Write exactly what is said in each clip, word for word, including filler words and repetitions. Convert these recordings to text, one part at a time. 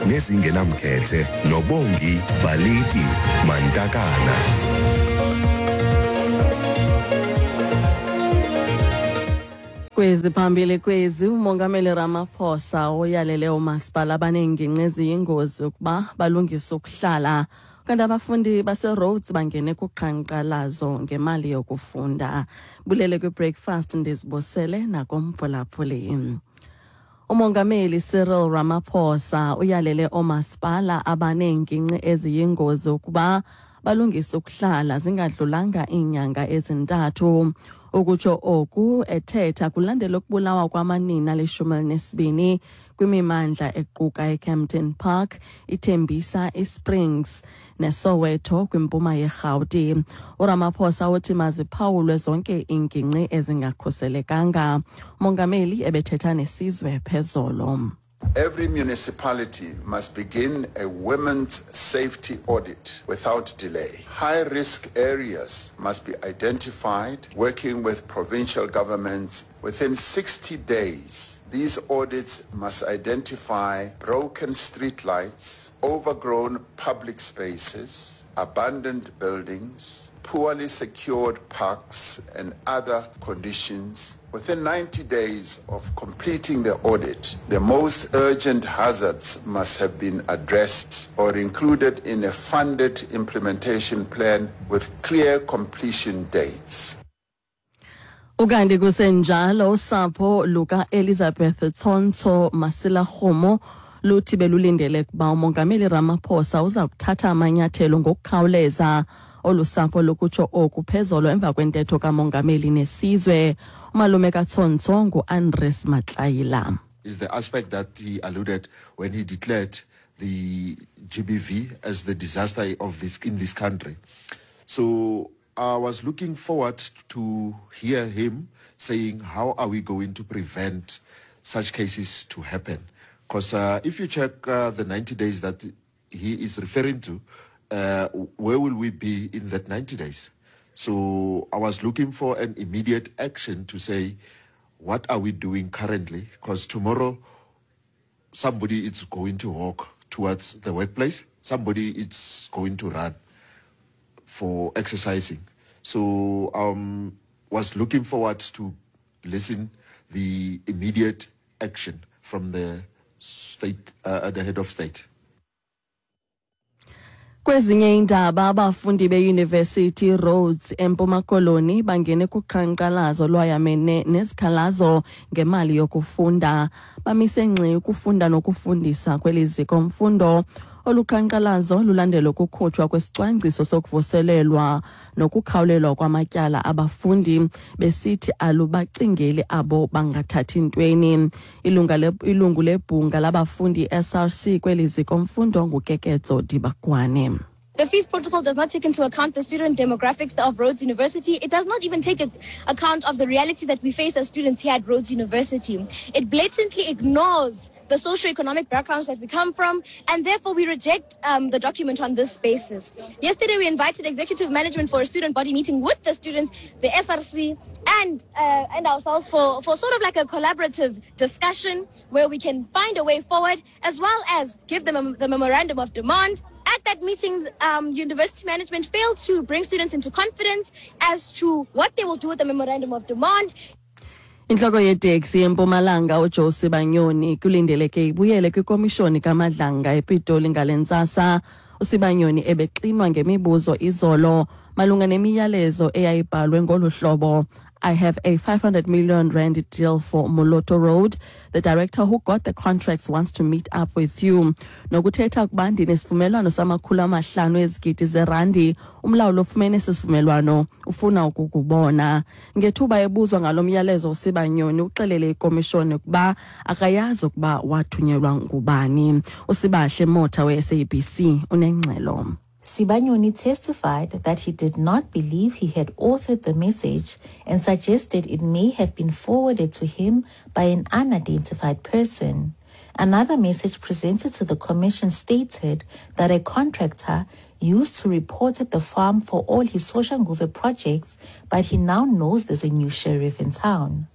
Nezingenamkhethe noBongi Baliti Mantakana. Kwezi phambili kwezi, uMongameli Ramaphosa uyalele oomasipala abaneengingqi eziyingozi ukuba balungise ukuhlala. Kanti abafundi baseRhodes bangene kuqhankqalazo ngemali yokufunda. Bulele kwi-breakfast, ndizibosele nakomphulaphuli. Umongameli Cyril Ramaphosa uyalele oomasipala abaneengingqi eziyingozi ukuba balungise ukuhlala zingadlulanga iinyanga ezintathu. Ukutsho oku ethetha kulandela ukubulawa kwamanina alishumi elinesibini kwimimandla equka iKempton Park, iTembisa, iSprings neSoweto kwimpuma yeRhawuti. URamaphosa uthi maziphawulwe zonke iingingqi ezingakhuselekanga. Umongameli ebethetha nesizwe phezolo. Every municipality must begin a women's safety audit without delay. High-risk areas must be identified, working with provincial governments within sixty days. These audits must identify broken streetlights, overgrown public spaces, abandoned buildings, poorly secured parks and other conditions. Within ninety days of completing the audit, the most urgent hazards must have been addressed or included in a funded implementation plan with clear completion dates. Ukanti kusenjalo, usapho luka Elizabeth Tsontsho Masilagomo luthi belulindele kuba uMongameli Ramaphosa uza kuthatha amanyathelo ngokukhawuleza. Olu sapho lukutsho oku phezolo emva kwentetho kamongameli nesizwe. Umalume kaTsontsho nguAndres Matlaila. Is the aspect that he alluded when he declared the G B V as the disaster of this in this country. So I was looking forward to hear him saying, how are we going to prevent such cases to happen? 'Cause, uh, if you check, uh, the ninety days that he is referring to, uh, where will we be in that ninety days? So I was looking for an immediate action to say, what are we doing currently? 'Cause tomorrow, somebody is going to walk towards the workplace, somebody is going to run for exercising. So I um, was looking forward to listen the immediate action from the state, uh, the head of state. Kwezinye iindaba, abafundi beYunivesithi Rhodes eMpuma Koloni bangene kuqhankqalazo lwayamene nezikhalazo ngemali yokufunda. Bamise ngxi ukufunda nokufundisa kweli ziko mfundo. Olu qhankqalazo lulandela ukukhutshwa kwesicwangciso sokuvuselelwa nokukhawulelwa kwamatyala abafundi, besithi alubacingeli abo bangathathi ntweni. Ilunga le-, ilungu lebhunga labafundi S R C kweli ziko mfundo nguKeketso Dibakwane. The fees protocol does not take into account the student demographics of Rhodes University. It does not even take account of the reality that we face as students here at Rhodes University. It blatantly ignores the socioeconomic backgrounds that we come from, and therefore we reject, um, the document on this basis. Yesterday we invited executive management for a student body meeting with the students, the S R C, and, uh, and ourselves for, for sort of like a collaborative discussion where we can find a way forward, as well as give them a, the memorandum of demand. At that meeting, um, university management failed to bring students into confidence as to what they will do with the memorandum of demand. Inhloko yeteksi eMpumalanga uJoe Sibanyoni kulindeleke ibuyele kwikomishoni kaMadlanga ePitoli ngale ntsasa. uSibanyoni ebexinwa ngemibuzo izolo malunga nemiyalezo eyayibhalwe ngolu hlobo: I have a five hundred million rand deal for Moloto Road. The director who got the contracts wants to meet up with you. Nokuthetha ukuba ndinesivumelwano samakhulu amahlanu ezigidi zerandi. Umlawuli ofumene esi sivumelwano ufuna ukukubona. Ngethuba ebuzwa ngalo myalezo, uSibanyoni uxelele ikomishoni ukuba akayazi ukuba wathunyelwa ngubani. USibahle Motha we-S A B C unengxelo. Sibanyoni testified that he did not believe he had authored the message and suggested it may have been forwarded to him by an unidentified person. Another message presented to the commission stated that a contractor used to report at the farm for all his Soshanguve projects, but he now knows there's a new sheriff in town.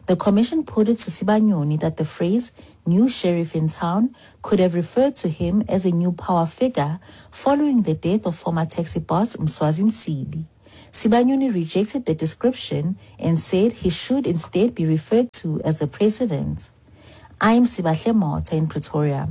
The commission put it to Sibanyoni that the phrase new sheriff in town could have referred to him as a new power figure following the death of former taxi boss Mswazi Msibi. Sibanyoni rejected the description and said he should instead be referred to as the president. I'm Sibahle Mota in Pretoria.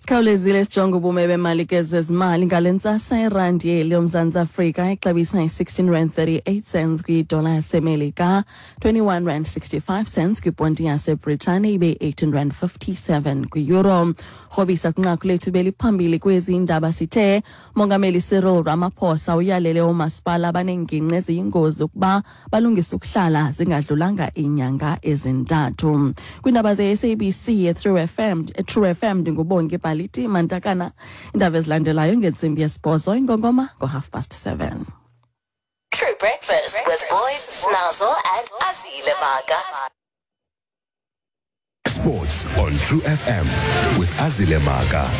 Sikhawulezile sijonge ubume bemali ke zezimali ngale ntsasa. Irandi yeli yoMzantsi Afrika ixabisa i-sixteen rand thirty-eight cents kwidola yaseMelika, twenty-one rand sixty-five cents kwiponti yaseBritane, ibe eighteen rand fifty-seven kwi-euro. Rhobisa kwinqaku lethu beliphambili kwezi ndaba, sithe Mongameli Cyril Ramaphosa uyalele oomasipala abaneengingqi eziyingozi ukuba balungise ukuhlala zingadlulanga iinyanga ezintathu. Kwiindaba ze-S A B C e-True F M, e-True F M, ndinguBongi Baliti Mantakana. Iindaba ezilandelayo ngentsimbi yesibhozo, ingongoma ngo-half past seven. True Breakfast with Boys, Snazzle and Azile Maga. Sports on True F M with Azile Maga.